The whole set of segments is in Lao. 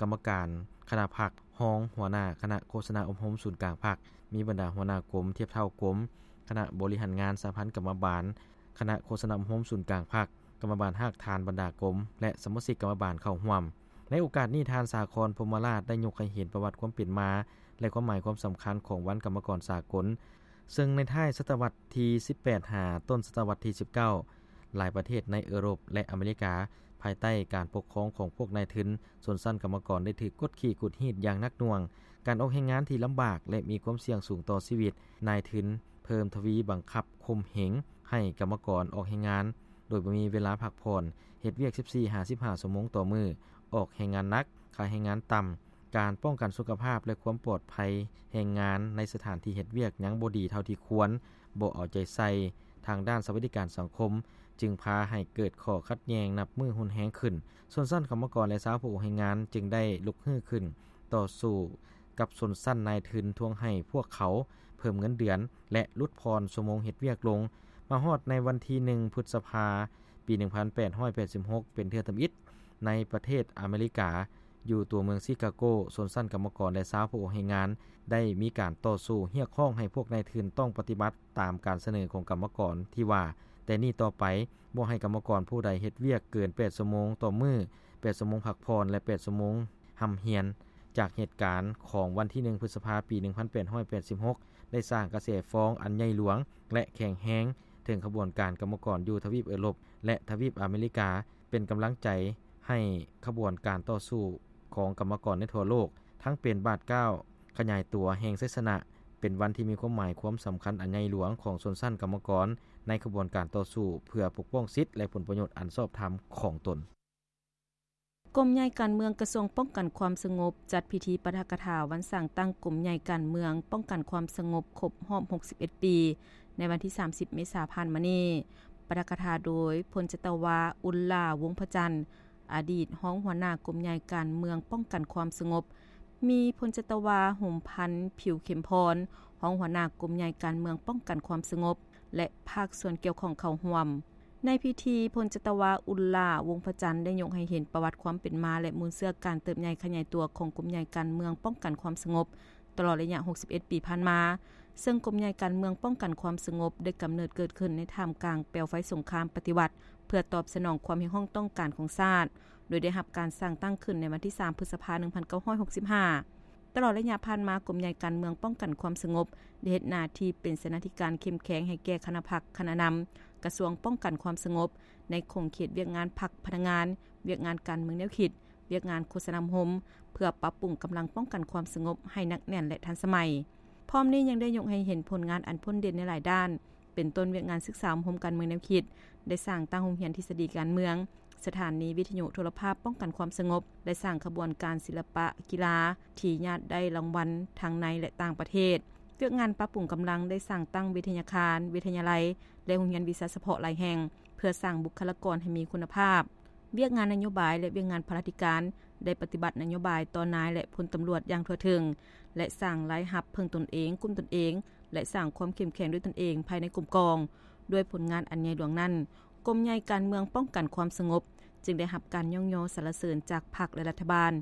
ກຳມະການຄະນະພັກ, ຮອງຫົວໜ້າຄະນະໂຄສະນາອົບຮົມສູນກາງພັກ, ມີບັນດາຫົວໜ້າກົມ, ທຽບເທົ່າກົມ, ຄະນະບໍລິຫານງານສະຫະພັນກຳມະບານ, ຄະນະໂຄສະນາອົບຮົມສູນກາງພັກ, ກຳມະບານຮາກຖານບັນດາກົມ ແລະ ສະມາຊິກກຳມະບານເຂົ້າຮ່ວມ. ໃນໂອກາດນີ້, ທ່ານ ສາຄອນ ພົມມະລາດ ໄດ້ຍົກໃຫ້ເຫັນປະຫວັດຄວາມເປັນມາ ແລະ ຄວາມໝາຍຄວາມສຳຄັນຂອງວັນກຳມະກອນສາກົນ, ເຊິ່ງໃນທ້າຍສະຕະວັດທີສິບແປດ ຫາຕົ້ນສະຕະວັດທີສິບເກົ້າ ຫຼາຍປະເທດໃນເອີຣົບ ແລະ ອາເມລິກາ ພາຍໃຕ້ການປົກຄອງຂອງພວກນາຍທຶນ, ຊົນຊັ້ນກຳມະກອນໄດ້ຖືກກົດຂີ່ກົດຮີດຢ່າງໜັກໜ່ວງ. ການອອກແຮງງານທີ່ລຳບາກ ແລະ ມີຄວາມສ່ຽງສູງຕໍ່ຊີວິດ, ນາຍທຶນເພີ່ມທະວີບັງຄັບຂົ່ມເຫງໃຫ້ກຳມະກອນອອກແຮງງານ ໂດຍບໍ່ມີເວລາພັກຜ່ອນ, ເຮັດວຽກສິບສີ່ຫາສິບຫ້າຊົ່ວໂມງຕໍ່ມື້, ອອກແຮງງານໜັກ, ຄ່າແຮງງານຕ່ຳ, ການປ້ອງກັນສຸຂະພາບ ແລະ ຄວາມປອດໄພແຮງງານໃນສະຖານທີ່ເຮັດວຽກຍັງບໍ່ດີເທົ່າທີ່ຄວນ, ບໍ່ເອົາໃຈໃສ່ທາງດ້ານສະຫວັດດີການສັງຄົມ, ຈຶ່ງພາໃຫ້ເກີດຂໍ້ຂັດແຍ່ງນັບມື້ຮຸນແຮງຂຶ້ນ. ຊົນຊັ້ນກຳມະກອນ ແລະ ຊາວຜູ້ອອກແຮງງານຈຶ່ງໄດ້ລຸກຮືຂຶ້ນຕໍ່ສູ້ກັບຊົນຊັ້ນນາຍທຶນ, ທວງໃຫ້ພວກເຂົາເພີ່ມເງິນເດືອນ ແລະ ຫຼຸດຜ່ອນຊົ່ວໂມງເຮັດວຽກລົງ. ມາຮອດໃນວັນທີໜຶ່ງ ພຶດສະພາ ປີໜຶ່ງພັນແປດຮ້ອຍແປດສິບຫົກ ເປັນເທື່ອທຳອິດໃນປະເທດອາເມລິກາ, ຢູ່ຕົວເມືອງຊິກາໂກ, ຊົນຊັ້ນກຳມະກອນ ແລະ ຊາວຜູ້ອອກແຮງງານ ໄດ້ມີການຕໍ່ສູ້ຮຽກຮ້ອງໃຫ້ພວກນາຍທຶນຕ້ອງປະຕິບັດຕາມການສະເໜີຂອງກຳມະກອນທີ່ວ່າ, ແຕ່ນີ້ຕໍ່ໄປ ບໍ່ໃຫ້ກຳມະກອນຜູ້ໃດເຮັດວຽກເກີນແປດຊົ່ວໂມງຕໍ່ມື້, ແປດຊົ່ວໂມງພັກຜ່ອນ ແລະ ແປດຊົ່ວໂມງຮ່ຳຮຽນ. ຈາກເຫດການຂອງວັນທີໜຶ່ງ ພຶດສະພາ ປີໜຶ່ງພັນແປດຮ້ອຍແປດສິບຫົກ ໄດ້ສ້າງກະແສຟ້ອງອັນໃຫຍ່ຫຼວງ ແລະ ແຂງແຮງເຖິງຂະບວນການກຳມະກອນຢູ່ທະວີບເອີຣົບ ແລະ ທະວີບອາເມລິກາ, ເປັນກຳລັງໃຈໃຫ້ຂະບວນການຕໍ່ສູ້ຂອງກຳມະກອນໃນທົ່ວໂລກ ທັງເປັນບາດກ້າວຂະຫຍາຍຕົວແຫ່ງໄຊຊະນະ, ເປັນວັນທີ່ມີຄວາມໝາຍຄວາມສຳຄັນອັນໃຫຍ່ຫຼວງຂອງຊົນຊັ້ນກຳມະກອນໃນຂະບວນການຕໍ່ສູ້ເພື່ອປົກປ້ອງສິດ ແລະ ຜົນປະໂຫຍດອັນຊອບທຳຂອງຕົນ. ກົມໃຫຍ່ການເມືອງກະຊວງປ້ອງກັນຄວາມສະຫງົບ ຈັດພິທີປາຖະກະຖາວັນສ້າງຕັ້ງກົມໃຫຍ່ການເມືອງປ້ອງກັນຄວາມສະຫງົບຄົບຮອບຫົກສິບເອັດປີ ໃນວັນທີສາມສິບ ເມສາຜ່ານມານີ້. ປາຖະກະຖາໂດຍ ພົນຈັດຕະວາ ອຸນລາ ວົງພະຈັນ, ອະດີດຮອງຫົວໜ້າກົມໃຫຍ່ການເມືອງປ້ອງກັນຄວາມສະຫງົບ, ມີພົນຈັດຕະວາ ຫົມພັນ ຜິວເຂັມພອນ, ຮອງຫົວໜ້າກົມໃຫຍ່ການເມືອງປ້ອງກັນຄວາມສະຫງົບ ແລະ ພາກສ່ວນກ່ຽວຂ້ອງເຂົ້າຮ່ວມ. ໃນພິທີ, ພົນຈັດຕະວາ ອຸນລາ ວົງພະຈັນ ໄດ້ຍົກໃຫ້ເຫັນປະຫວັດຄວາມເປັນມາ ແລະ ມູນເຊື້ອການເຕີບໃຫຍ່ຂະຫຍາຍຕົວຂອງກົມໃຫຍ່ການເມືອງປ້ອງກັນຄວາມສະຫງົບ ຕະຫຼອດໄລຍະຫົກສິບເອັດປີຜ່ານມາ, ເຊິ່ງກົມໃຫຍ່ການເມືອງປ້ອງກັນຄວາມສະຫງົບໄດ້ກຳເນີດເກີດຂຶ້ນໃນທ່າມກາງເປວໄຟສົງຄາມປະຕິວັດ ເພື່ອຕອບສະໜອງຄວາມຮຽກຮ້ອງຕ້ອງການຂອງຊາດ, ໂດຍໄດ້ຮັບການສ້າງຕັ້ງຂຶ້ນໃນວັນທີສາມ ພຶດສະພາ ໜຶ່ງພັນເກົ້າຮ້ອຍຫົກສິບຫ້າ. ຕະຫຼອດໄລຍະຜ່ານມາ, ກົມໃຫຍ່ການເມືອງປ້ອງກັນຄວາມສະຫງົບ ໄດ້ເຮັດໜ້າທີ່ເປັນເສນາທິການເຂັ້ມແຂງໃຫ້ແກ່ຄະນະພັກ, ຄະນະນຳ, ກະຊວງປ້ອງກັນຄວາມສະຫງົບ ໃນຂົງເຂດວຽກງານພັກ, ພະນັກງານ, ວຽກງານການເມືອງແນວຄິດ, ວຽກງານໂຄສະນາອົບຮົມ ເພື່ອປັບປຸງກຳລັງປ້ອງກັນຄວາມສະຫງົບໃຫ້ໜັກແໜ້ນ ແລະ ທັນສະໄໝ. ພ້ອມນີ້ຍັງໄດ້ຍົກໃຫ້ເຫັນຜົນງານອັນພົ້ນເດັ່ນໃນຫຼາຍດ້ານ, ເປັນຕົ້ນວຽກງານສຶກສາອົບຮົມການເມືອງແນວຄິດ, ໄດ້ສ້າງຕັ້ງໂຮງຮຽນທິດສະດີການເມືອງ, ສະຖານີວິທະຍຸໂທລະພາບປ້ອງກັນຄວາມສະຫງົບ, ໄດ້ສ້າງຂະບວນການສິລະປະກິລາທີ່ຍາດໄດ້ລາງວັນທັງໃນ ແລະ ຕ່າງປະເທດ, ວຽກງານປັບປຸງກຳລັງ ໄດ້ສ້າງຕັ້ງວິທະຍາຄານ, ວິທະຍາໄລ ແລະ ໂຮງຮຽນວິຊາສະເພາະຫຼາຍແຫ່ງ ເພື່ອສ້າງບຸກຄະລາກອນໃຫ້ມີຄຸນນະພາບ. ວຽກງານນະໂຍບາຍ ແລະ ວຽກງານພະລາທິການ ໄດ້ປະຕິບັດນະໂຍບາຍຕໍ່ນາຍ ແລະ ພົນຕຳຫຼວດຢ່າງທົ່ວເຖິງ ແລະ ສ້າງລາຍຮັບເພິ່ງຕົນເອງ, ກຸ້ມຕົນເອງ ແລະ ສ້າງຄວາມເຂັ້ມແຂງດ້ວຍຕົນເອງພາຍໃນກົມກອງ. ດ້ວຍຜົນງານອັນໃຫຍ່ຫຼວງນັ້ນ, ກົມໃຫຍ່ການເມືອງປ້ອງກັນຄວາມສະຫງົບ ຈຶ່ງໄດ້ຮັບການຍ້ອງຍໍສັນລະເສີນຈາກພັກ ແລະ ລັດຖະບານ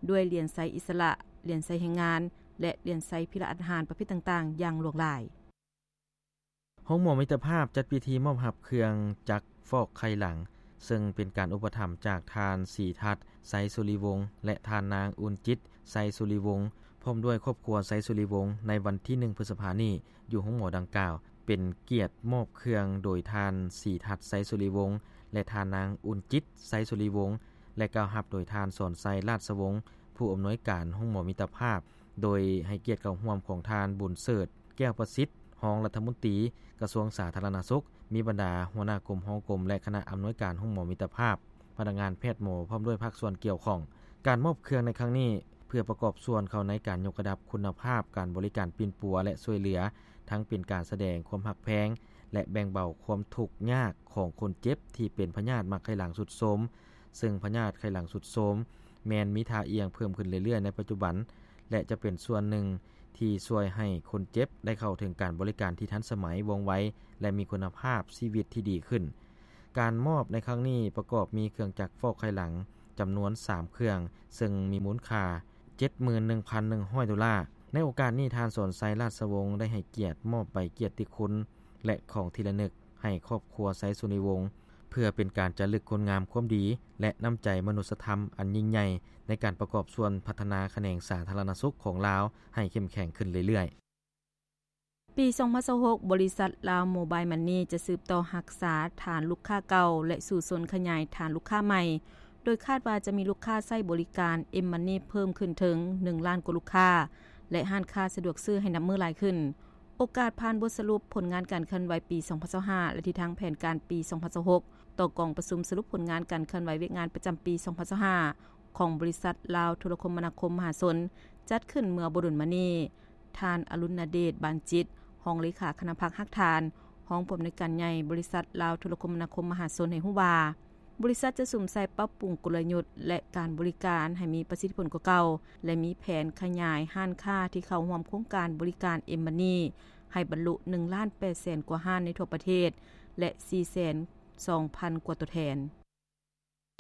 ດ້ວຍຫຼຽນໄຊອິດສະຫຼະ, ຫຼຽນໄຊແຮງງານ ແລະ ຫຼຽນໄຊພິລະອາດຫານປະເພດຕ່າງໆ ຢ່າງຫຼວງຫຼາຍ. ໂຮງໝໍມິດຕະພາບຈັດພິທີມອບຮັບເຄື່ອງຈັກຟອກໄຂ່ຫຼັງ, ເຊິ່ງເປັນການອຸປະຖຳຈາກທ່ານ ສີທັດ ໄຊສຸລິວົງ ແລະ ທ່ານນາງ ອຸ່ນຈິດ ໄຊສຸລິວົງ ພ້ອມດ້ວຍຄອບຄົວໄຊສຸລິວົງ ໃນວັນທີໜຶ່ງ ພຶດສະພານີ້ ຢູ່ໂຮງໝໍດັ່ງກ່າວ. ເປັນກຽດມອບເຄື່ອງໂດຍທ່ານ ສີທັດ ໄຊສຸລິວົງ ແລະ ທ່ານນາງ ອຸ່ນຈິດ ໄຊສຸລິວົງ ແລະ ກ່າວຮັບໂດຍທ່ານ ສອນໄຊ ລາດສະວົງ ຜູ້ອຳນວຍການໂຮງໝໍມິດຕະພາບ, ໂດຍໃຫ້ກຽດເຂົ້າຮ່ວມຂອງທ່ານ ບຸນເສີດ ແກ້ວປະສິດ ຮອງລັດຖະມົນຕີກະຊວງສາທາລະນະສຸກ, ມີບັນດາຫົວໜ້າກົມ, ຮອງກົມ ແລະ ຄະນະອຳນວຍການໂຮງໝໍມິດຕະພາບ, ພະນັກງານແພດໝໍ ພ້ອມດ້ວຍພາກສ່ວນກ່ຽວຂ້ອງ. ການມອບເຄື່ອງໃນຄັ້ງນີ້ ເພື່ອປະກອບສ່ວນເຂົ້າໃນການຍົກລະດັບຄຸນນະພາບການບໍລິການປິ່ນປົວ ແລະ ຊ່ວຍເຫຼືອ, ທັງເປັນການສະແດງຄວາມຮັກແພງ ແລະ ແບ່ງເບົາຄວາມທຸກຍາກຂອງຄົນເຈັບທີ່ເປັນພະຍາດໝາກໄຂ່ຫຼັງຊຸດໂຊມ, ເຊິ່ງພະຍາດໄຂ່ຫຼັງຊຸດໂຊມແມ່ນມີທ່າອ່ຽງເພີ່ມຂຶ້ນເລື້ອຍໆໃນປັດຈຸບັນ ແລະ ຈະເປັນສ່ວນໜຶ່ງທີ່ຊ່ວຍໃຫ້ຄົນເຈັບໄດ້ເຂົ້າເຖິງການບໍລິການທີ່ທັນສະໄໝ, ວ່ອງໄວ ແລະ ມີຄຸນນະພາບຊີວິດທີ່ດີຂຶ້ນ. ການມອບໃນຄັ້ງນີ້ປະກອບມີເຄື່ອງຈັກຟອກໄຂ່ຫຼັງ ຈຳນວນສາມເຄື່ອງ ເຊິ່ງມີມູນຄ່າ ເຈັດໝື່ນໜຶ່ງພັນໜຶ່ງຮ້ອຍໂດລາ. ໃນໂອກາດນີ້ ທ່ານ ສອນໄຊ ລາດຊະວົງ ໄດ້ໃຫ້ກຽດມອບໃບກຽດຕິຄຸນ ແລະ ຂອງທີ່ລະນຶກໃຫ້ຄອບຄົວໄຊສຸນີວົງ ເພື່ອເປັນການຈາລຶກຄຸນງາມຄວາມດີ ແລະ ນ້ຳໃຈມະນຸດສະທຳອັນຍິ່ງໃຫຍ່ ໃນການປະກອບສ່ວນພັດທະນາຂະແໜງສາທາລະນະສຸກຂອງລາວໃຫ້ເຂັ້ມແຂງຂຶ້ນເລື້ອຍໆ. ປີສອງພັນຊາວຫົກ ບໍລິສັດລາວໂມບາຍມັນນີຈະສືບຕໍ່ຮັກສາຖານລູກຄ້າເກົ່າ ແລະ ສູ້ຊົນຂະຫຍາຍຖານລູກຄ້າໃໝ່, ໂດຍຄາດວ່າຈະມີລູກຄ້າໃຊ້ບໍລິການເອັມມັນນີເພີ່ມຂຶ້ນເຖິງໜຶ່ງລ້ານກວ່າລູກຄ້າ ແລະ ຮ້ານຄ້າສະດວກຊື້ໃຫ້ນັບມື້ຫຼາຍຂຶ້ນ. ໂອກາດຜ່ານບົດສະຫຼຸບຜົນງານການເຄື່ອນໄຫວປີສອງພັນຊາວຫ້າ ແລະ ທິດທາງແຜນການປີສອງພັນຊາວຫົກ ຕໍ່ກອງປະຊຸມສະຫຼຸບຜົນງານການເຄື່ອນໄຫວວຽກງານປະຈຳປີສອງພັນຊາວຫ້າ ຂອງບໍລິສັດລາວໂທລະຄົມມະນາຄົມມະຫາຊົນ ຈັດຂຶ້ນເມື່ອບໍ່ດົນມານີ້, ທ່ານ ອະລຸນນະເດດ ບານຈິດ ຮອງເລຂາຄະນະພັກຮາກຖານ, ຮອງຜູ້ອຳນວຍການໃຫຍ່ບໍລິສັດລາວໂທລະຄົມມະນາຄົມມະຫາຊົນ ໃຫ້ຮູ້ວ່າ, ບໍລິສັດຈະສຸມໃສ່ປັບປຸງກົນລະຍຸດ ແລະ ການບໍລິການໃຫ້ມີປະສິດທິຜົນກວ່າເກົ່າ ແລະ ມີແຜນຂະຫຍາຍຮ້ານຄ້າທີ່ເຂົ້າຮ່ວມໂຄງການບໍລິການເອັມມັນນີ ໃຫ້ບັນລຸໜຶ່ງລ້ານແປດແສນກວ່າຮ້ານໃນທົ່ວປະເທດ ແລະ ສີ່ແສນສອງພັນກວ່າຕົວແທນ.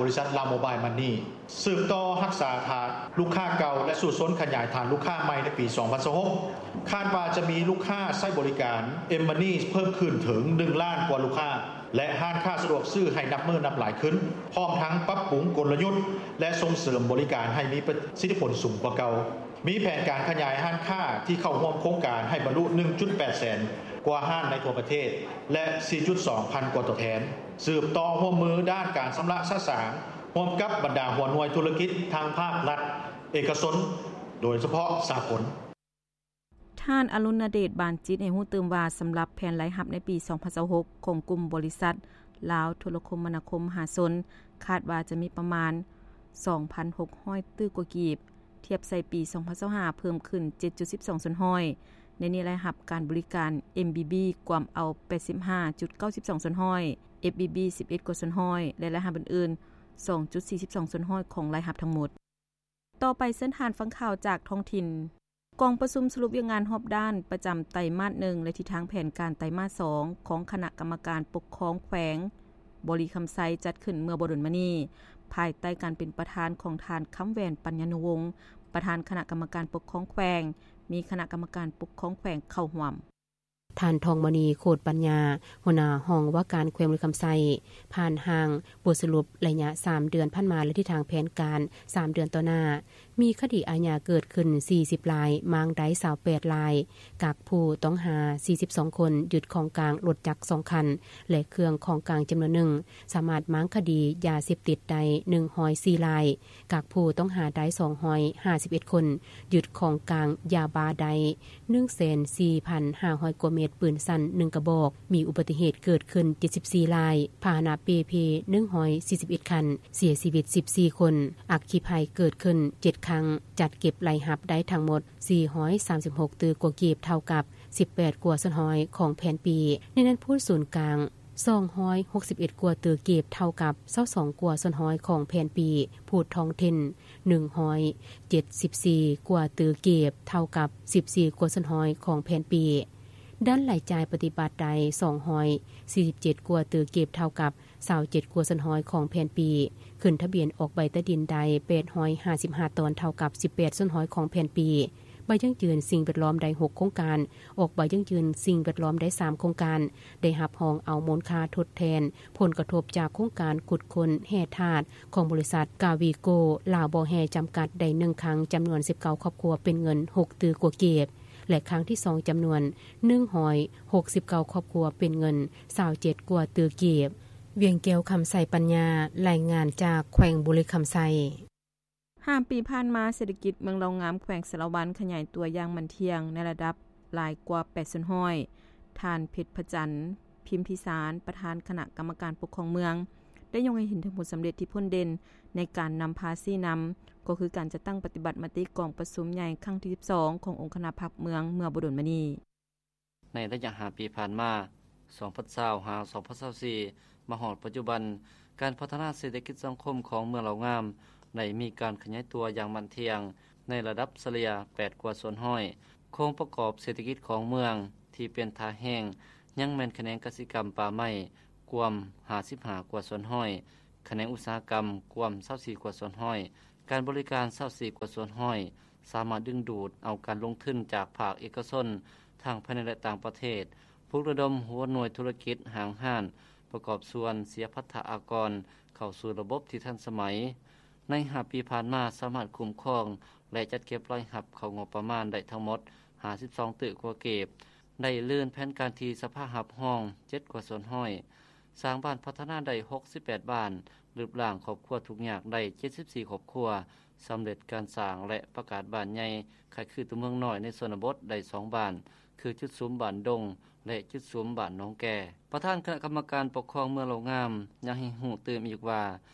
ບໍລິສັດລາວໂມບາຍມັນນີສືບຕໍ່ຮັກສາຖານລູກຄ້າເກົ່າ ແລະ ສູ້ຊົນຂະຫຍາຍຖານລູກຄ້າໃໝ່ໃນປີສອງພັນຊາວຫົກ ຄາດວ່າຈະມີລູກຄ້າໃຊ້ບໍລິການເອັມມັນນີເພີ່ມຂຶ້ນເຖິງໜຶ່ງລ້ານກວ່າລູກຄ້າ ແລະ ຮ້ານຄ້າສະດວກຊື້ໃຫ້ນັບມື້ນັບຫຼາຍຂຶ້ນ, ພ້ອມທັງປັບປຸງກົນລະຍຸດ ແລະ ສົ່ງເສີມບໍລິການໃຫ້ມີປະສິດທິຜົນສູງກວ່າເກົ່າ. ມີແຜນການຂະຫຍາຍຮ້ານຄ້າທີ່ເຂົ້າຮ່ວມໂຄງການໃຫ້ບັນລຸໜຶ່ງຈຸດແປດແສນກວ່າຮ້ານໃນທົ່ວປະເທດ ແລະ ສີ່ຈຸດສອງພັນກວ່າຕົວແທນ, ສືບຕໍ່ຮ່ວມມືດ້ານການຊຳລະສະສາງ ຮ່ວມກັບບັນດາຫົວໜ່ວຍທຸລະກິດທາງພາກລັດ, ເອກະຊົນ, ໂດຍສະເພາະສາກົນ. ທ່ານ ອະລຸນນະເດດ ບານຈິດ ໃຫ້ຮູ້ຕື່ມວ່າ, ສຳລັບແຜນລາຍຮັບໃນປີສອງພັນຊາວຫົກ ຂອງກຸ່ມບໍລິສັດລາວໂທລະຄົມມະນາຄົມມະຫາຊົນ ຄາດວ່າຈະມີປະມານສອງພັນຫົກຮ້ອຍຕື້ກວ່າກີບ, ທຽບໃສ່ປີສອງພັນຊາວຫ້າ ເພີ່ມຂຶ້ນເຈັດຈຸດສິບສອງສ່ວນຮ້ອຍ. ໃນນີ້ລາຍຮັບການບໍລິການ ເອັມບີບີ ກວມເອົາແປດສິບຫ້າຈຸດເກົ້າສິບສອງສ່ວນຮ້ອຍ, ເອັຟບີບີ ສິບເອັດກວ່າສ່ວນຮ້ອຍ ແລະ ລາຍຮັບອື່ນໆ ສອງຈຸດສີ່ສິບສອງສ່ວນຮ້ອຍຂອງລາຍຮັບທັງໝົດ. ຕໍ່ໄປເຊີນທ່ານຟັງຂ່າວຈາກທ້ອງຖິ່ນ. ກອງປະຊຸມສະຫຼຸບວຽກງານຮອບດ້ານປະຈຳໄຕມາດໜຶ່ງ ແລະ ທິດທາງແຜນການໄຕມາດສອງ ຂອງຄະນະກຳມະການປົກຄອງແຂວງບໍລິຄຳໄຊ ຈັດຂຶ້ນເມື່ອບໍ່ດົນມານີ້ ພາຍໃຕ້ການເປັນປະທານຂອງທ່ານ ຄຳແຫວນ ປັນຍານຸວົງ ປະທານຄະນະກຳມະການປົກຄອງແຂວງ, ມີຄະນະກຳມະການປົກຄອງແຂວງເຂົ້າຮ່ວມ. ທ່ານ ທອງມະນີ ໂຄດປັນຍາ ຫົວໜ້າຫ້ອງວ່າການແຂວງບໍລິຄຳໄຊ ຜ່ານຮ່າງບົດສະຫຼຸບໄລຍະສາມເດືອນຜ່ານມາ ແລະ ທິດທາງແຜນການສາມເດືອນຕໍ່ໜ້າ, ມີຄະດີອາຍາເກີດຂຶ້ນສີ່ສິບລາຍ, ມ້າງໄດ້ຊາວແປດລາຍ, ກັກຜູ້ຕ້ອງຫາສີ່ສິບສອງຄົນ, ຍຶດຂອງກາງລົດຈັກສອງຄັນ ແລະ ເຄື່ອງຂອງກາງຈຳນວນໜຶ່ງ, ສາມາດມ້າງຄະດີຢາເສບຕິດໄດ້ໜຶ່ງຮ້ອຍສີ່ລາຍ, ກັກຜູ້ຕ້ອງຫາໄດ້ສອງຮ້ອຍຫ້າສິບເອັດຄົນ, ຍຶດຂອງກາງຢາບ້າໄດ້ໜຶ່ງແສນສີ່ພັນຫ້າຮ້ອຍກວ່າເມັດ, ປືນສັ້ນໜຶ່ງກະບອກ, ມີອຸບັດຕິເຫດເກີດຂຶ້ນເຈັດສິບສີ່ລາຍ, ພາຫະນະເປ່ເພໜຶ່ງຮ້ອຍສີ່ສິບເອັດຄັນ, ເສຍຊີວິດສິບສີ່ຄົນ, ອັກຄີໄພເກີດຂຶ້ນເຈັດຄັ້ງ, ຈັດເກັບລາຍຮັບໄດ້ທັງໝົດສີ່ຮ້ອຍສາມສິບຫົກຕື້ກວ່າກີບ, ເທົ່າກັບສິບແປດກວ່າສ່ວນຮ້ອຍຂອງແຜນປີ. ໃນນັ້ນ ພູດສູນກາງ ສອງຮ້ອຍຫົກສິບເອັດກວ່າຕື້ກີບ, ເທົ່າກັບຊາວສອງກວ່າສ່ວນຮ້ອຍຂອງແຜນປີ, ພູດທ້ອງຖິ່ນ ໜຶ່ງຮ້ອຍເຈັດສິບສີ່ກວ່າຕື້ກີບ, ເທົ່າກັບສິບສີ່ກວ່າສ່ວນຮ້ອຍຂອງແຜນປີ. ດ້ານລາຍຈ່າຍປະຕິບັດໄດ້ສອງຮ້ອຍສີ່ສິບເຈັດກວ່າຕື້ກີບ, ເທົ່າກັບຊາວເຈັດກວ່າສ່ວນຮ້ອຍຂອງແຜນປີ. ຂຶ້ນທະບຽນອອກໃບຕາດິນໄດ້ແປດຮ້ອຍຫ້າສິບຫ້າຕອນ, ເທົ່າກັບສິບແປດສ່ວນຮ້ອຍຂອງແຜນປີ. ໃບຢັ້ງຢືນສິ່ງແວດລ້ອມໄດ້ຫົກໂຄງການ, ອອກໃບຢັ້ງຢືນສິ່ງແວດລ້ອມໄດ້ສາມໂຄງການ, ໄດ້ຮັບຮອງເອົາມູນຄ່າທົດແທນຜົນກະທົບຈາກໂຄງການຂຸດຄົ້ນແຮ່ທາດຂອງບໍລິສັດກາວີໂກລາວບໍ່ແຮ່ຈຳກັດໄດ້ໜຶ່ງຄັ້ງ, ຈຳນວນສິບເກົ້າຄອບຄົວ, ເປັນເງິນຫົກຕື້ກວ່າກີບ ແລະ ຄັ້ງທີສອງ ຈຳນວນໜຶ່ງຮ້ອຍຫົກສິບເກົ້າຄອບຄົວ, ເປັນເງິນຊາວເຈັດກວ່າຕື້ກີບ. ວຽງແກ້ວ ຄຳໄຊປັນຍາ, ລາຍງານຈາກແຂວງບໍລິຄຳໄຊ. ຫ້າປີຜ່ານມາ, ເສດຖະກິດເມືອງເລົ່າງາມ ແຂວງສາລະວັນ ຂະຫຍາຍຕົວຢ່າງໝັ້ນທ່ຽງໃນລະດັບຫຼາຍກວ່າແປດສ່ວນຮ້ອຍ. ທ່ານ ເພັດພະຈັນ ພິມພິສານ ປະທານຄະນະກຳມະການປົກຄອງເມືອງ ໄດ້ຍົກໃຫ້ເຫັນເຖິງຜົນສຳເລັດທີ່ພົ້ນເດັ່ນໃນການນຳພາຊີ້ນຳ, ກໍຄືການຈັດຕັ້ງປະຕິບັດມະຕິກອງປະຊຸມໃຫຍ່ຄັ້ງທີສິບສອງ ຂອງອົງຄະນະພັກເມືອງເມື່ອບໍ່ດົນມານີ້. ໃນໄລຍະຫ້າປີຜ່ານມາ ສອງພັນຊາວ ຫາ ສອງພັນຊາວສີ່ ມາຮອດປັດຈຸບັນ, ການພັດທະນາເສດຖະກິດສັງຄົມຂອງເມືອງເລົ່າງາມ ໄດ້ມີການຂະຫຍາຍຕົວຢ່າງໝັ້ນທ່ຽງ ໃນລະດັບສະເລ່ຍແປດກວ່າສ່ວນຮ້ອຍ. ໂຄງປະກອບເສດຖະກິດຂອງເມືອງທີ່ເປັນທ່າແຮງ ຍັງແມ່ນຂະແໜງກະສິກຳປ່າໄມ້ ກວມຫ້າສິບຫ້າກວ່າສ່ວນຮ້ອຍ, ຂະແໜງອຸດສາຫະກຳກວມຊາວສີ່ກວ່າສ່ວນຮ້ອຍ, ການບໍລິການຊາວສີ່ກວ່າສ່ວນຮ້ອຍ, ສາມາດດຶງດູດເອົາການລົງທຶນຈາກພາກເອກະຊົນ ທັງພາຍໃນ ແລະ ຕ່າງປະເທດ, ປຸກລະດົມຫົວໜ່ວຍທຸລະກິດ, ຫ້າງຮ້ານ, ປະກອບສ່ວນເສຍພັດທະອາກອນ ເຂົ້າສູ່ລະບົບທີ່ທັນສະໄໝ. ໃນຫ້າປີຜ່ານມາ ສາມາດຄຸ້ມຄອງ ແລະ ຈັດເກັບລາຍຮັບເຂົ້າງົບປະມານໄດ້ທັງໝົດຫ້າສິບສອງຕື້ກວ່າກີບ, ໄດ້ລື່ນແຜນການທີ່ສະພາຮັບຮອງເຈັດກວ່າສ່ວນຮ້ອຍ, ສ້າງບ້ານພັດທະນາໄດ້ຫົກສິບແປດບ້ານ, ລຶບລ້າງຄອບຄົວທຸກຍາກໄດ້ເຈັດສິບສີ່ຄອບຄົວ, ສຳເລັດການສ້າງ ແລະ ປະກາດບ້ານໃຫຍ່ຄ້າຍຄືຕົວເມືອງນ້ອຍໃນຊົນນະບົດໄດ້ສອງບ້ານ ຄືຈຸດສຸມບ້ານດົງ ແລະ ຈຸດສຸມບ້ານໜອງແກ. ປະທານຄະນະກຳມະການປົກຄອງເມືອງເລົ່າງາມ ຍັງໃຫ້ຮູ້ຕື່ມອີກວ່າ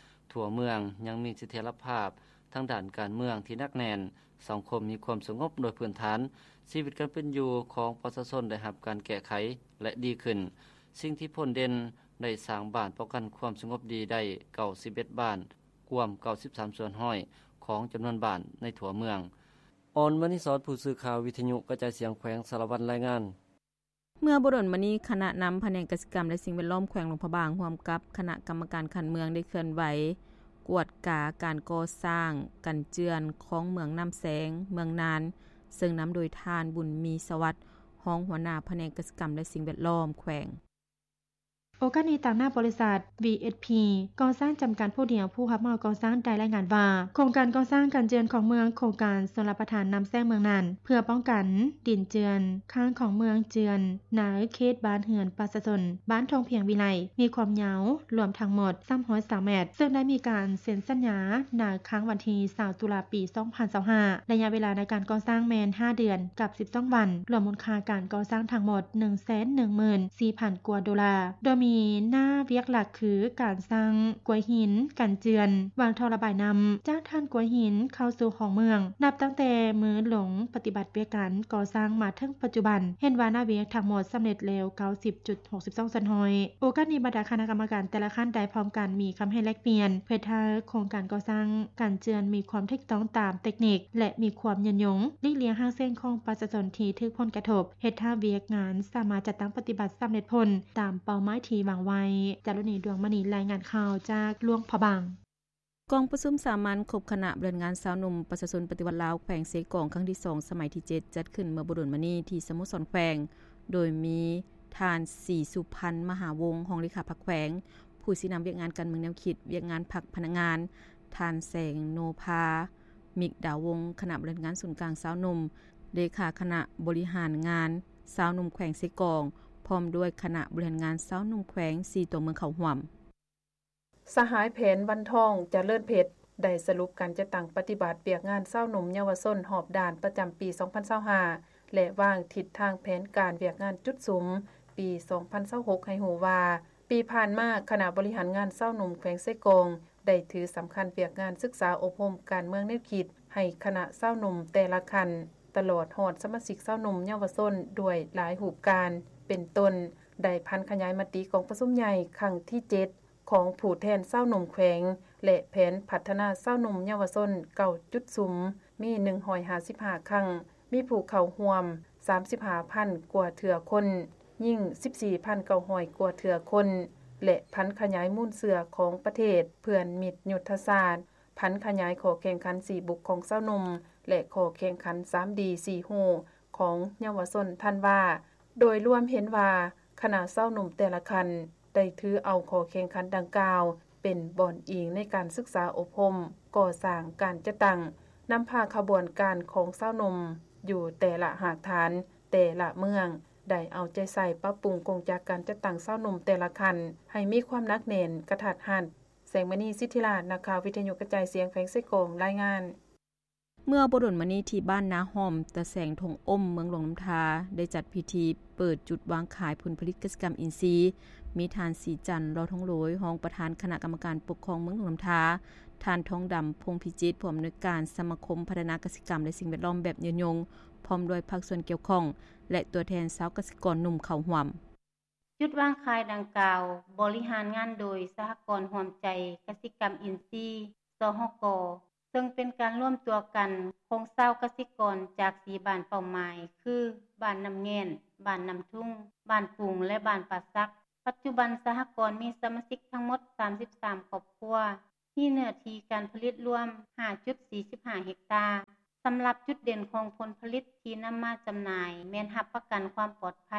ທົ່ວເມືອງຍັງມີສະຖຽນລະພາບທາງດ້ານການເມືອງທີ່ໜັກແໜ້ນ, ສັງຄົມມີຄວາມສະຫງົບໂດຍພື້ນຖານ, ຊີວິດການເປັນຢູ່ຂອງປະຊາຊົນໄດ້ຮັບການແກ້ໄຂ ແລະ ດີຂຶ້ນ. ສິ່ງທີ່ພົ້ນເດັ່ນ ໄດ້ສ້າງບ້ານປ້ອງກັນຄວາມສະຫງົບດີໄດ້ເກົ້າສິບເອັດບ້ານ, ກວມເກົ້າສິບສາມສ່ວນຮ້ອຍຂອງຈຳນວນບ້ານໃນທົ່ວເມືອງ. ອອນ ມະນີສອນ ຜູ້ສື່ຂ່າວວິທະຍຸກະຈາຍສຽງແຂວງສາລະວັນ ລາຍງານ. ເມື່ອບໍ່ດົນມານີ້ ຄະນະນຳພະແນກກະສິກຳ ແລະ ສິ່ງແວດລ້ອມແຂວງຫຼວງພະບາງ ຮ່ວມກັບຄະນະກຳມະການຂັ້ນເມືອງ ໄດ້ເຄື່ອນໄຫວກວດກາການກໍ່ສ້າງກັນເຈື່ອນຂອງເມືອງນ້ຳແຊງ, ເມືອງນານ, ເຊິ່ງນຳໂດຍທ່ານ ບຸນມີ ສະຫວັດ, ຮອງຫົວໜ້າພະແນກກະສິກຳ ແລະ ສິ່ງແວດລ້ອມແຂວງ. ໂອກາດນີ້ ຕາງໜ້າບໍລິສັດ ວີເອັສພີ ກໍ່ສ້າງຈຳກັດຜູ້ດຽວ ຜູ້ຮັບເໝົາກໍ່ສ້າງ ໄດ້ລາຍງານວ່າ ໂຄງການກໍ່ສ້າງກັນເຈື່ອນຂອງເມືອງ ໂຄງການຊົນລະປະທານນ້ຳແຊງເມືອງນານ ເພື່ອປ້ອງກັນດິນເຈື່ອນຄ້າງຂອງເມືອງເຈື່ອນ ໃນເຂດບ້ານເຮືອນປະຊາຊົນ ບ້ານທົ່ງພຽງວິໄລ ມີຄວາມຍາວລວມທັງໝົດສາມຮ້ອຍຊາວແມັດ ເຊິ່ງໄດ້ມີການເຊັນສັນຍາໃນຄ້າງວັນທີຊາວຕຸລາ ປີສອງພັນຊາວຫ້າ ໄລຍະເວລາໃນການກໍ່ສ້າງແມ່ນຫ້າເດືອນກັບສິບສອງວັນ ລວມມູນຄ່າການກໍ່ສ້າງທັງໝົດໜຶ່ງແສນໜຶ່ງໝື່ນສີ່ພັນກວ່າໂດລາ ໂດຍມີໜ້າວຽກຫຼັກຄືການສ້າງກວຍຫີນກັນເຈື່ອນ ວາງທໍ່ລະບາຍນ້ຳ ຈາກຖານກວຍຫີນເຂົ້າສູ່ຫ້ອງເມືອງ. ນັບຕັ້ງແຕ່ມື້ລົງປະຕິບັດວຽກງານກໍ່ສ້າງມາເຖິງປັດຈຸບັນ ເຫັນວ່າໜ້າວຽກທັງໝົດສຳເລັດແລ້ວເກົ້າສິບຈຸດຫົກສິບສອງສ່ວນຮ້ອຍ. ໂອກາດນີ້ ບັນດາຄະນະກຳມະການແຕ່ລະຂັ້ນໄດ້ພ້ອມກັນມີຄຳເຫັນແລກປ່ຽນ ເພື່ອເຮັດໃຫ້ໂຄງການກໍ່ສ້າງກັນເຈື່ອນມີຄວາມຖືກຕ້ອງຕາມເຕັກນິກ ແລະ ມີຄວາມຍືນຍົງ, ຫຼີກລ່ຽງຮາກເສັງຂອງປະຊາຊົນທີ່ຖືກຜົນກະທົບ, ເຮັດໃຫ້ວຽກງານສາມາດຈັດຕັ້ງປະຕິບັດສຳເລັດຜົນຕາມເປົ້າໝາຍທີ່ວາງໄວ້. ຈາລຸນີ ດວງມະນີ ລາຍງານຂ່າວຈາກຫຼວງພະບາງ. ກອງປະຊຸມສາມັນຄົບຄະນະບໍລິຫານງານຊາວໜຸ່ມປະຊາຊົນປະຕິວັດລາວ ແຂວງເຊກອງ ຄັ້ງທີສອງ ສະໄໝທີເຈັດ ຈັດຂຶ້ນເມື່ອບໍ່ດົນມານີ້ທີ່ສະໂມສອນແຂວງ ໂດຍມີທ່ານ ສີສຸພັນ ມະຫາວົງ ຮອງເລຂາພັກແຂວງ, ຜູ້ຊີ້ນຳວຽກງານການເມືອງແນວຄິດ, ວຽກງານພັກພະນັກງານ, ທ່ານ ແສງໂນພາ ມິກດາວົງ ຄະນະບໍລິຫານງານສູນກາງຊາວໜຸ່ມ, ເລຂາຄະນະບໍລິຫານງານຊາວໜຸ່ມແຂວງເຊກອງ ພ້ອມດ້ວຍຄະນະບໍລິຫານງານຊາວໜຸ່ມແຂວງ ສີ່ຕົວເມືອງເຂົ້າຮ່ວມ. ສະຫາຍ ແຜນ ວັນທອງ ຈະເລີນເພັດ ໄດ້ສະຫຼຸບການຈັດຕັ້ງປະຕິບັດວຽກງານຊາວໜຸ່ມເຍົາວະຊົນຮອບດ້ານປະຈຳປີສອງພັນຊາວຫ້າ ແລະ ວາງທິດທາງແຜນການວຽກງານຈຸດສຸມປີສອງພັນຊາວຫົກ ໃຫ້ຮູ້ວ່າ ປີຜ່ານມາ ຄະນະບໍລິຫານງານຊາວໜຸ່ມແຂວງເຊກອງ ໄດ້ຖືສຳຄັນວຽກງານສຶກສາອົບຮົມການເມືອງແນວຄິດ ໃຫ້ຄະນະຊາວໜຸ່ມແຕ່ລະຂັ້ນ ຕະຫຼອດຮອດສະມາຊິກຊາວໜຸ່ມເຍົາວະຊົນດ້ວຍຫຼາຍຮູບການ ເປັນຕົ້ນ ໄດ້ຜັນຂະຫຍາຍມະຕິກອງປະຊຸມໃຫຍ່ຄັ້ງທີເຈັດ ຂອງຜູ້ແທນຊາວໜຸ່ມແຂວງ ແລະ ແຜນພັດທະນາຊາວໜຸ່ມເຍົາວະຊົນເກົ້າຈຸດສຸມ ມີໜຶ່ງຮ້ອຍຫ້າສິບຫ້າຄັ້ງ, ມີຜູ້ເຂົ້າຮ່ວມສາມສິບຫ້າພັນກວ່າເທື່ອຄົນ, ຍິງສິບສີ່ພັນເກົ້າຮ້ອຍກວ່າເທື່ອຄົນ ແລະ ຜັນຂະຫຍາຍມູນເຊື້ອຂອງປະເທດເພື່ອນມິດຍຸດທະສາດ, ຜັນຂະຫຍາຍຂໍ້ແຂ່ງຂັນຊີ້ບຸກຂອງຊາວໜຸ່ມ ແລະ ຂໍ້ແຂ່ງຂັນສາມດີສີ່ຮູ້ຂອງເຍົາວະຊົນທັນວາ. ໂດຍລວມເຫັນວ່າ ຄະນະຊາວໜຸ່ມແຕ່ລະຂັ້ນ ໄດ້ຖືເອົາຂໍ້ແຂ່ງຂັນດັ່ງກ່າວ ເປັນບ່ອນອີງໃນການສຶກສາອົບຮົມ, ກໍ່ສ້າງ, ການຈັດຕັ້ງ, ນຳພາຂະບວນການຂອງຊາວໜຸ່ມຢູ່ແຕ່ລະຮາກຖານ, ແຕ່ລະເມືອງ ໄດ້ເອົາໃຈໃສ່ປັບປຸງກົງຈັກການຈັດຕັ້ງຊາວໜຸ່ມແຕ່ລະຂັ້ນ ໃຫ້ມີຄວາມໜັກແໜ້ນ, ກະທັດຮັດ. ແສງມະນີ ສິດທິລາດ, ນັກຂ່າວວິທະຍຸກະຈາຍສຽງແຂວງເຊກອງ ລາຍງານ. ເມື່ອບໍ່ດົນມານີ້ ທີ່ບ້ານນາຫ້ອມ ຕາແສງທົ່ງອົ້ມ ເມືອງຫຼວງນ້ຳທາ ໄດ້ຈັດພິທີເປີດຈຸດວາງຂາຍຜົນຜະລິດກະສິກຳອິນຊີ, ມີທ່ານ ສີຈັນ ຫຼໍ່ທອງໂລຍ ຮອງປະທານຄະນະກຳມະການປົກຄອງເມືອງຫຼວງນ້ຳທາ, ທ່ານ ທອງດຳ ພົງພິຈິດ ຜູ້ອຳນວຍການສະມາຄົມພັດທະນາກະສິກຳ ແລະ ສິ່ງແວດລ້ອມແບບຍືນຍົງ ພ້ອມດ້ວຍພາກສ່ວນກ່ຽວຂ້ອງ ແລະ ຕົວແທນຊາວກະສິກອນໜຸ່ມເຂົ້າຮ່ວມ. ຈຸດວາງຂາຍດັ່ງກ່າວ ບໍລິຫານງານໂດຍສະຫະກອນຮ່ວມໃຈກະສິກຳອິນຊີ ສຫກ ເຊິ່ງເປັນການລວມຕົວກັນຂອງຊາວກະສິກອນຈາກສີ່ບ້ານເປົ້າໝາຍ ຄື ບ້ານນ້ຳແງ່ນ, ບ້ານນ້ຳທຸງ, ບ້ານປຸງ ແລະ ບ້ານປ່າສັກ. ພ ປັດຈຸບັນສະຫະກອນມີສະມາຊິກທັງໝົດສາມສິບສາມຄອບຄົວ, ມີເນື້ອທີ່ການຜະລິດລວມຫ້າຈຸດສີ່ສິບຫ້າເຮັກຕາ. ສຳລັບຈຸດເດັ່ນຂອງຜົນຜະລິດທີ່ນຳມາຈຳໜ່າຍ ແມ່ນຮັບປະກັນຄວາມປອດໄພ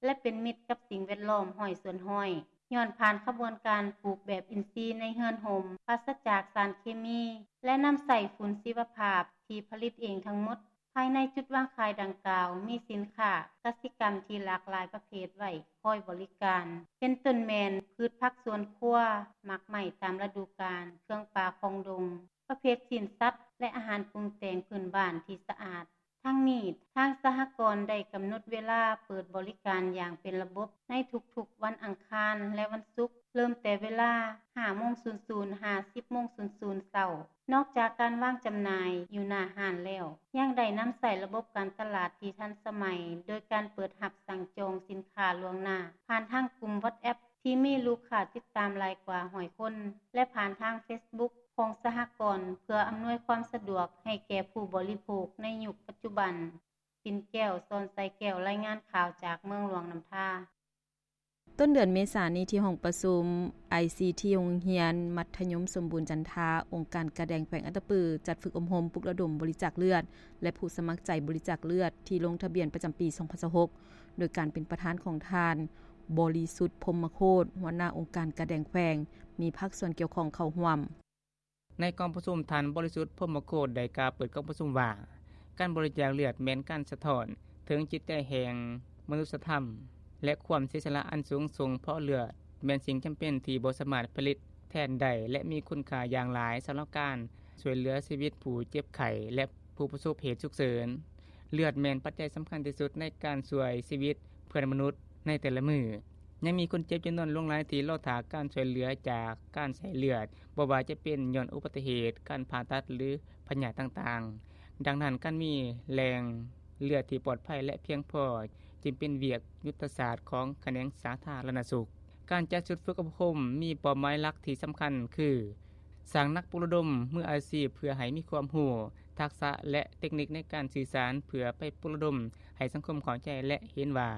ແລະ ເປັນມິດກັບສິ່ງແວດລ້ອມຮ້ອຍສ່ວນຮ້ອຍ ຍ້ອນຜ່ານຂະບວນການປູກແບບອິນຊີໃນເຮືອນຮົ່ມ, ປາສະຈາກສານເຄມີ ແລະ ນຳໃຊ້ຝຸ່ນຊີວະພາບທີ່ຜະລິດເອງທັງໝົດ. ພາຍໃນຈຸດວາງຂາຍດັ່ງກ່າວ ມີສິນຄ້າກະສິກຳທີ່ຫຼາກຫຼາຍປະເພດໄວ້ຄອຍບໍລິການ, ເປັນຕົ້ນແມ່ນພືດຜັກສວນຄົວ, ໝາກໄມ້ຕາມລະດູການ, ເຄື່ອງປ່າຂອງດົງ, ປະເພດຊີ້ນສັດ ແລະ ອາຫານປຸງແຕ່ງພື້ນບ້ານທີ່ສະອາດ. ທັງນີ້, ທາງສະຫະກອນໄດ້ກຳນົດເວລາເປີດບໍລິການຢ່າງເປັນລະບົບໃນທຸກໆວັນອັງຄານ ແລະ ວັນສຸກ, ເລີ່ມແຕ່ເວລາຫ້າໂມງສູນສູນ ຫາສິບໂມງສູນສູນເຊົ້າ. ນອກຈາກການວາງຈຳໜ່າຍຢູ່ໜ້າຮ້ານແລ້ວ, ຍັງໄດ້ນຳໃຊ້ລະບົບການຕະຫຼາດທີ່ທັນສະໄໝ, ໂດຍການເປີດຮັບສັ່ງຈອງສິນຄ້າລ່ວງໜ້າ ຜ່ານທາງກຸ່ມ WhatsApp ທີ່ມີລູກຄ້າຕິດຕາມຫຼາຍກວ່າຮ້ອຍຄົນ ແລະ ຜ່ານທາງ Facebook ຂອງສະຫະກອນ ເພື່ອອຳນວຍຄວາມສະດວກໃຫ້ແກ່ຜູ້ບໍລິໂພກໃນຍຸກປັດຈຸບັນ. ປິນແກ້ວ ສອນໄຊແກ້ວ, ລາຍງານຂ່າວຈາກເມືອງຫຼວງນ້ຳທາ. ຕົ້ນເດືອນເມສານີ້ ທີ່ຫ້ອງປະຊຸມ ໄອຊີທີ ໂຮງຮຽນມັດທະຍົມສົມບູນຈັນທາ, ອົງການກາແດງແຂວງອັດຕະປື ຈັດຝຶກອົບຮົມປຸກລະດົມບໍລິຈາກເລືອດ ແລະ ຜູ້ສະໝັກໃຈບໍລິຈາກເລືອດທີ່ລົງທະບຽນປະຈຳປີສອງພັນຊາວຫົກ ໂດຍການເປັນປະທານຂອງທ່ານ ບໍລິສຸດ ພົມມະໂຄດ ຫົວໜ້າອົງການກາແດງແຂວງ, ມີພາກສ່ວນກ່ຽວຂ້ອງເຂົ້າຮ່ວມ. ໃນກອງປະຊຸມ, ທ່ານ ບໍລິສຸດ ພົມມະໂຄດ ໄດ້ກ່າວເປີດກອງປະຊຸມວ່າ ການບໍລິຈາກເລືອດແມ່ນການສະທ້ອນເຖິງຈິດໃຈແຫ່ງມະນຸດສະທຳ ແລະ ຄວາມເສຍສະຫຼະອັນສູງສົ່ງ, ເພາະເລືອດແມ່ນສິ່ງຈຳເປັນທີ່ບໍ່ສາມາດຜະລິດແທນໄດ້ ແລະ ມີຄຸນຄ່າຢ່າງຫຼາຍສຳລັບການຊ່ວຍເຫຼືອຊີວິດຜູ້ເຈັບໄຂ້ ແລະ ຜູ້ປະສົບເຫດສຸກເສີນ. ເລືອດແມ່ນປັດໄຈສຳຄັນທີ່ສຸດໃນການຊ່ວຍຊີວິດເພື່ອນມະນຸດໃນແຕ່ລະມື້. ຍັງມີຄົນເຈັບຈຳນວນຫຼວງຫຼາຍທີ່ລໍຖ້າການຊ່ວຍເຫຼືອຈາກການໃຊ້ເລືອດ, ບໍ່ວ່າຈະເປັນຍ້ອນອຸບັດຕິເຫດ, ການຜ່າຕັດ ຫຼື ພະຍາດຕ່າງໆ. ດັ່ງນັ້ນ, ການມີແຫຼ່ງເລືອດທີ່ປອດໄພ ແລະ ພຽງພໍ ຈຶ່ງເປັນວຽກຍຸດທະສາດຂອງຂະແໜງສາທາລະນະສຸກ. ການຈັດຊຸດຝຶກອົບຮົມມີເປົ້າໝາຍຫຼັກທີ່ສຳຄັນຄື ສ້າງນັກປຸກລະດົມມືອາຊີບເພື່ອໃຫ້ມີຄວາມຮູ້, ທັກສະ ແລະ ເຕັກນິກໃນການສື່ສານ ເພື່ອໄປປຸກລະດົມໃຫ້ສັງຄົມເຂົ້າໃຈ ແລະ ເຫັນວ່າ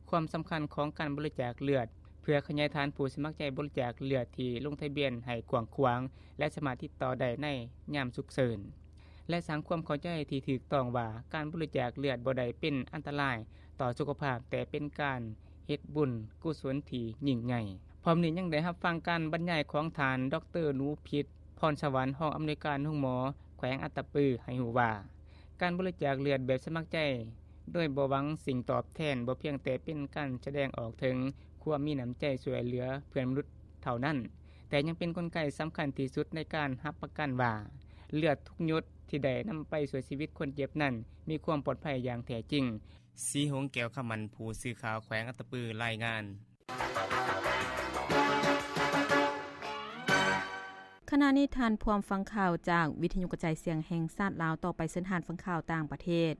ຄວາມສຳຄັນຂອງການບໍລິຈາກເລືອດ ເພື່ອຂະຫຍາຍຖານຜູ້ສະໝັກໃຈບໍລິຈາກເລືອດທີ່ລົງທະບຽນໃຫ້ກວ້າງຂວາງ ແລະ ສາມາດຕິດຕໍ່ໄດ້ໃນຍາມສຸກເສີນ ແລະ ສ້າງຄວາມເຂົ້າໃຈທີ່ຖືກຕ້ອງວ່າການບໍລິຈາກເລືອດບໍ່ໄດ້ເປັນອັນຕະລາຍຕໍ່ສຸຂະພາບ, ແຕ່ເປັນການເຮັດບຸນກຸສົນທີ່ຍິ່ງໃຫຍ່. ພ້ອມນີ້ຍັງໄດ້ຮັບຟັງການບັນຍາຍຂອງທ່ານ ດອກເຕີ ໜູພິດ ພອນສະຫວັນ ຮອງອຳນວຍການໂຮງໝໍແຂວງອັດຕະປື ໃຫ້ຮູ້ວ່າ ການບໍລິຈາກເລືອດແບບສະໝັກໃຈໂດຍບໍ່ຫວັງສິ່ງຕອບແທນ ບໍ່ພຽງແຕ່ເປັນການສະແດງອອກເຖິງຄວາມມີນ້ຳໃຈຊ່ວຍເຫຼືອເພື່ອນມະນຸດເທົ່ານັ້ນ, ແຕ່ຍັງເປັນກົນໄກສຳຄັນທີ່ສຸດໃນການຮັບປະກັນວ່າ ເລືອດທຸກຫຍົດທີ່ໄດ້ນຳໄປຊ່ວຍຊີວິດຄົນເຈັບນັ້ນ ມີຄວາມປອດໄພຢ່າງແທ້ຈິງ. ສີຫົງ ແກ້ວຄຳໝັ້ນ, ຜູ້ສື່ຂ່າວແຂວງອັດຕະປື ລາຍງານ. ຂະນະນີ້ທ່ານພວມຟັງຂ່າວຈາກວິທະຍຸກະຈາຍສຽງແຫ່ງຊາດລາວ. ຕໍ່ໄປເຊີນທ່ານຟັງຂ່າວຕ່າງປະເທດ.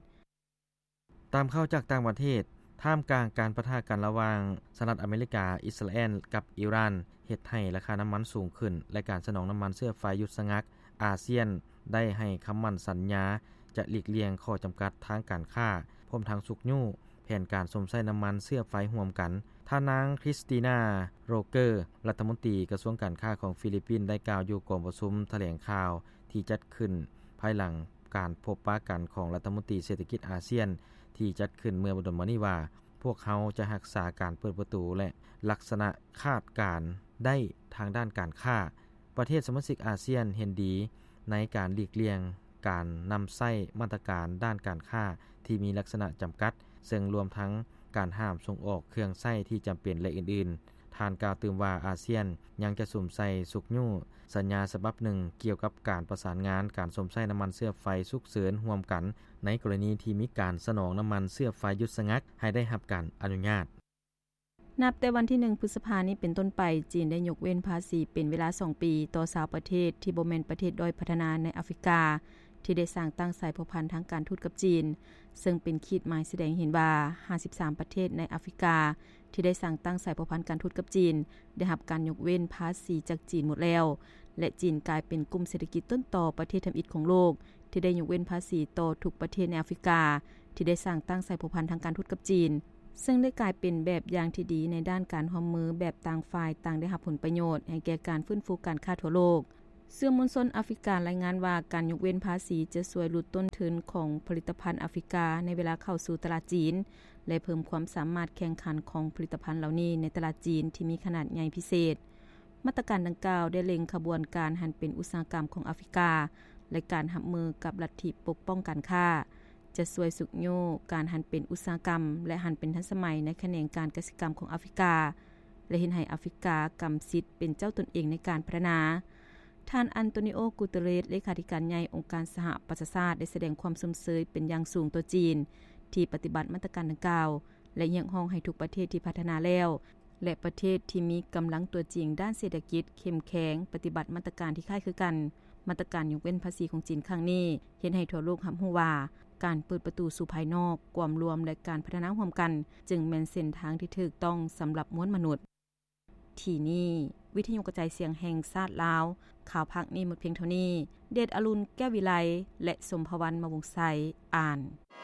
ຕາມຂ່າວຈາກຕ່າງປະເທດ, ທ່າມກາງການປະທະກັນລະຫວ່າງສະຫະລັດອາເມລິກາ, ອິດສະຣາແອນ ກັບອີຣານ ເຮັດໃຫ້ລາຄານ້ຳມັນສູງຂຶ້ນ ແລະ ການສະໜອງນ້ຳມັນເຊື້ອໄຟຢຸດສະງັກ, ອາຊຽນໄດ້ໃຫ້ຄຳໝັ້ນສັນຍາຈະຫຼີກລ່ຽງຂໍ້ຈຳກັດທາງການຄ້າ, ພ້ອມທັງຊຸກຍູ້ແຜນການຊົມໃຊ້ນ້ຳມັນເຊື້ອໄຟຮ່ວມກັນ. ທ່ານນາງ ຄຣິສຕີນາ ໂຣເກີ ລັດຖະມົນຕີກະຊວງການຄ້າຂອງຟີລິບປິນ ໄດ້ກ່າວຢູ່ກອງປະຊຸມຖະແຫຼງຂ່າວທີ່ຈັດຂຶ້ນພາຍຫຼັງການພົບປະກັນຂອງລັດຖະມົນຕີເສດຖະກິດອາຊຽນ ທີ່ຈັດຂຶ້ນເມື່ອບໍ່ດົນມານີ້ວ່າ, ພວກເຮົາຈະຮັກສາການເປີດປະຕູ ແລະ ລັກສະນະຄາດການໄດ້ທາງດ້ານການຄ້າ. ປະເທດສະມາຊິກອາຊຽນເຫັນດີໃນການຫຼີກລ່ຽງການນຳໃຊ້ມາດຕະການດ້ານການຄ້າທີ່ມີລັກສະນະຈຳກັດ, ເຊິ່ງລວມທັງການຫ້າມສົ່ງອອກເຄື່ອງໃຊ້ທີ່ຈຳເປັນ ແລະ ອື່ນໆ. ທ່ານກ່າວຕື່ມວ່າ ອາຊຽນຍັງຈະສຸມໃສ່ຊຸກຍູ້ສັນຍາສະບັບໜຶ່ງກ່ຽວກັບການປະສານງານການຊົມໃຊ້ນ້ຳມັນເຊື້ອໄຟສຸກເສີນຮ່ວມກັນ ໃນກໍລະນີທີ່ມີການສະໜອງນ້ຳມັນເຊື້ອໄຟຢຸດສະງັກໃຫ້ໄດ້ຮັບການອະນຸຍາດ. ນັບແຕ່ວັນທີໜຶ່ງ ພຶດສະພານີ້ເປັນຕົ້ນໄປ, ຈີນໄດ້ຍົກເວັ້ນພາສີເປັນເວລາສອງປີຕໍ່ຊາວປະເທດທີ່ບໍ່ແມ່ນປະເທດດ້ອຍພັດທະນາໃນອາຟຣິກາ ທີ່ໄດ້ສ້າງຕັ້ງສາຍພົວພັນທາງການທູດກັບຈີນ, ເຊິ່ງເປັນຂີດໝາຍສະແດງເຫັນວ່າ ຫ້າສິບສາມປະເທດໃນອາຟຣິກາ ທີ່ໄດ້ສ້າງຕັ້ງສາຍພົວພັນການທູດກັບຈີນ ໄດ້ຮັບການຍົກເວັ້ນພາສີຈາກຈີນໝົດແລ້ວ ແລະ ຈີນກາຍເປັນກຸ່ມເສດຖະກິດຕົ້ນຕໍປະເທດທຳອິດຂອງໂລກ ທີ່ໄດ້ຍົກເວັ້ນພາສີຕໍ່ທຸກປະເທດໃນອາຟຣິກາ ທີ່ໄດ້ສ້າງຕັ້ງສາຍພົວພັນທາງການທູດກັບຈີນ. ເຊິ່ງໄດ້ກາຍເປັນແບບຢ່າງທີ່ດີໃນດ້ານການຮ່ວມມືແບບຕ່າງຝ່າຍຕ່າງໄດ້ຮັບຜົນປະໂຫຍດ ໃຫ້ແກ່ການຟື້ນຟູການຄ້າທົ່ວໂລກ. ສື່ມວນຊົນອາຟຣິກາລາຍງານວ່າ ການຍົກເວັ້ນພາສີຈະຊ່ວຍຫຼຸດຕົ້ນທຶນຂອງຜະລິດຕະພັນອາຟຣິກາໃນເວລາເຂົ້າສູ່ຕະຫຼາດຈີນ ແລະເພີ່ມຄວາມສາມາດແຂ່ງຂັນຂອງຜະລິດຕະພັນເຫຼົ່ານີ້ໃນຕະຫຼາດຈີນທີ່ມີຂະໜາດໃຫຍ່ພິເສດ. ມາດຕະການດັ່ງກ່າວໄດ້ເລັງຂະບວນການຫັນເປັນອຸດສາຫະກຳຂອງອາຟຣິກາ ແລະການຮັບມືກັບລັດທິປົກປ້ອງການຄ້າ ຈະຊ່ວຍຊຸກຍູ້ການຫັນເປັນອຸດສາຫະກຳ ແລະຫັນເປັນທັນສະໄໝໃນຂະແໜງການກະສິກຳຂອງອາຟຣິກາ ແລະເຮັດໃຫ້ອາຟຣິກາກຳສິດເປັນເຈົ້າຕົນເອງໃນການພັດທະນາ. ທ່ານ ອັນໂຕນິໂອ ກູເຕເຣສ ເລຂາທິການໃຫຍ່ອົງການສະຫະປະຊາຊາດ ໄດ້ສະແດງຄວາມຊົມເຊີຍເປັນຢ່າງສູງຕໍ່ຈີນ ທີ່ປະຕິບັດມາດຕະການດັ່ງກ່າວ ແລະຮຽກຮ້ອງໃຫ້ທຸກປະເທດທີ່ພັດທະນາແລ້ວ ແລະປະເທດທີ່ມີກຳລັງຕົວຈິງດ້ານເສດຖະກິດເຂັ້ມແຂງປະຕິບັດມາດຕະການທີ່ຄ້າຍຄືກັນ. ມາດຕະການຍົກເວັ້ນພາສີຂອງຈີນຄັ້ງນີ້ ເຮັດໃຫ້ທົ່ວໂລກຮັບຮູ້ວ່າ ການເປີດປະຕູສູ່ພາຍນອກ, ກວມລວມ ແລະການພັດທະນາຮ່ວມກັນ ຈຶ່ງແມ່ນເສັ້ນທາງທີ່ຖືກຕ້ອງສຳລັບມວນມະນຸດ. ທີ່ນີ້ ວິທະຍຸກະຈາຍສຽງແຫ່ງຊາດລາວ. ຂ່າວພາກນີ້ໝົດພຽງເທົ່ານີ້. ເດດອະລຸນ ແກ້ວວິໄລ ແລະ ສົມພະວັນ ມະວົງໄຊ ອ່ານ.